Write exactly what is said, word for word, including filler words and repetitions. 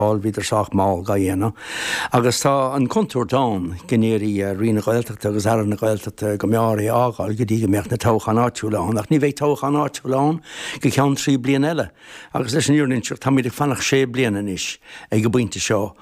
Bhíodar sách mall á dhéanamh. Agus tá an chontúirt ann go ndéarfaidh Roinn na Gaeltachta agus Aire na Gaeltachta go mb'fhearr é a fhágáil go dtí go mbeadh na toghcháin áitiúla ann, ach ní bheidh toghchán áitiúil ann go ceann trí bliana eile. Agus leis an fhírinne táimid ag fanacht sé bliana anois ag an bpointe seo.